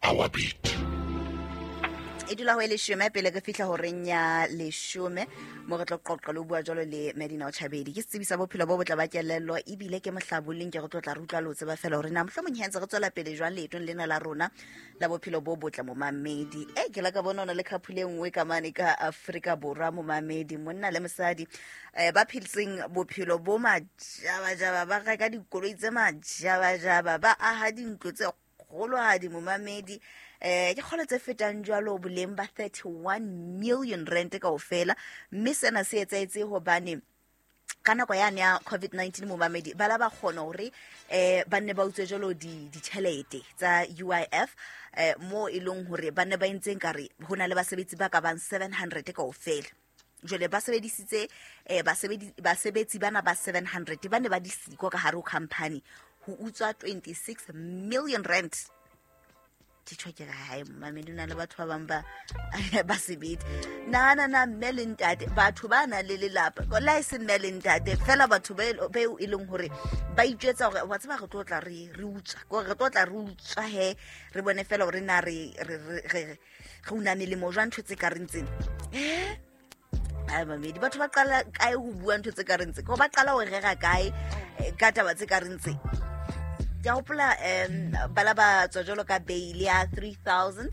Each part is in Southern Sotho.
Our beat. E dula ho e leshome pele re fihla horeng ya leshome, mo re tlo qoqa le ho bua jwalo le Medina Ochabedi. Ke setsebi sa bophelo bo botle ba kelello, ebile ke mohlabolling. Ke re tlo tla re utlwa le ho tseba fela hore na mohlomong he ntse re tswela pele jwang leetong lena la rona la bophelo bo botle. Momamedi, e ke la ka bona o na le khaphule e nngwe ka mane ka Afrika Borwa. Momamedi, monna le mosadi ba phetseng bophelo bo majabajaba, ba reka dikoloi tse majabajaba, ba aha dintlo tse kgolohadi. Momamedi, ke kgolo tse fetang jwalo boleng ba 31 million rand kaofela, mme sena se etsahetse hobane ka nako yane ya COVID-19, momamedi, ba la ba kgona hore ba nne ba utswe jwalo ditjhelete tsa UIF, mo e leng hore ba nne ba entseng kare ho na le basebetsi ba ka bang 700 kaofela. Jwale ba sebedisitse basebetsi bana ba 700 ba ne ba disiko ka hare ho company ho utswa 26 million rand. Ke tjho ke re hae, momamedi, o na le batho ba bang ba sebete. Nahana na, mme le ntate, batho ba nang le lelapa, la e se mme le ntate fela, batho beo e leng hore ba itjwetsa hore wa tseba re tlo tla re utswa, kore re tlo tla re utswa he, re bone fela hore na re una melemo jwang, ntho tse ka reng tsena. Ai, mamedi, batho ba qala kae ho bua ntho tse ka reng tse? Ko ba qala ho rera kae ka taba tse ka reng tse? Ke a hopola bala ba tswa jwalo ka bail ya 3000,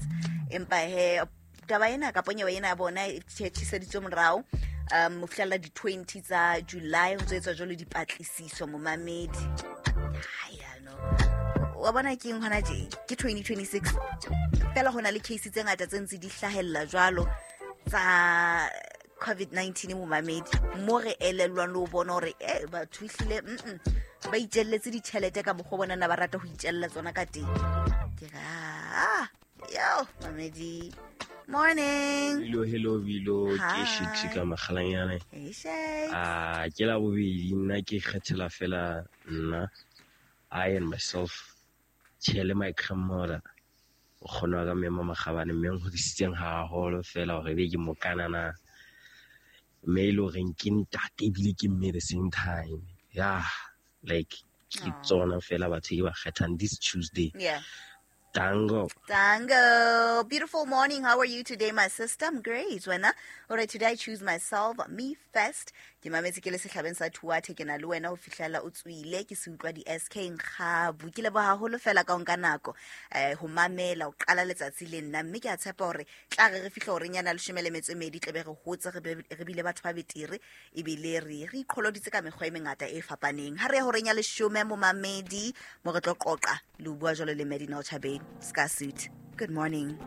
empa he taba ena kapa nyewe ena ya bona e tjhiseditswe morao ho fihlela di-20 tsa July, ho ntso etswa jwalo dipatlisiso. Momamedi, hai, ano wa bona ke eng hona tje, ke 2026 fela ho na le case tse ngata tse ntse di hlahella jwalo tsa COVID-19. Momamedi, mo re elellwang le ho bona hore batho ehlile ba itjelletse ditjhelete ka mokgwa bona na ba rata ho itjella tsona ka teng. Ke re yo, mamedi, morning. Hello, hello, Bilo. Ke Hi. Shakes ka Makgalanyane. Hey, Shakes. Ah, ke la bobedi, nna ke kgethela fela nna, I and myself, tjhe le my grandmother. O kgona wa ka mme Makgabane, mme nhodisitseng haholo fela hore ebe ke mokanana. Mme e le horeng ke ntate ebile ke mme the same time. Yeah, like ke Aw. tsona fela batho ke ba kgethang this Tuesday. Tango. Tango. Beautiful morning. How are you today, my sister? I'm great. Wena? All right, today I choose myself, me first. Ke mametse ke le sehlabeng sa Thuathe, ke na le wena ho fihlela o tswile, ke se utlwa di SK Nkgabu. Ke leboha haholo fela ka o nka nako, ho mamela, ho qala letsatsi le nna. Mme ke a tshepa hore tla re re fihla horeng ya 12:30, tle be re hotse, re bile batho ba betere, ebile re iqholoditse ka mekgwa e mengata e fapaneng. Ha re ya horeng ya 10, momamedi, mo re tlo qoqa le ho bua jwalo le Medina Ochabeng. Ska suit. Good morning.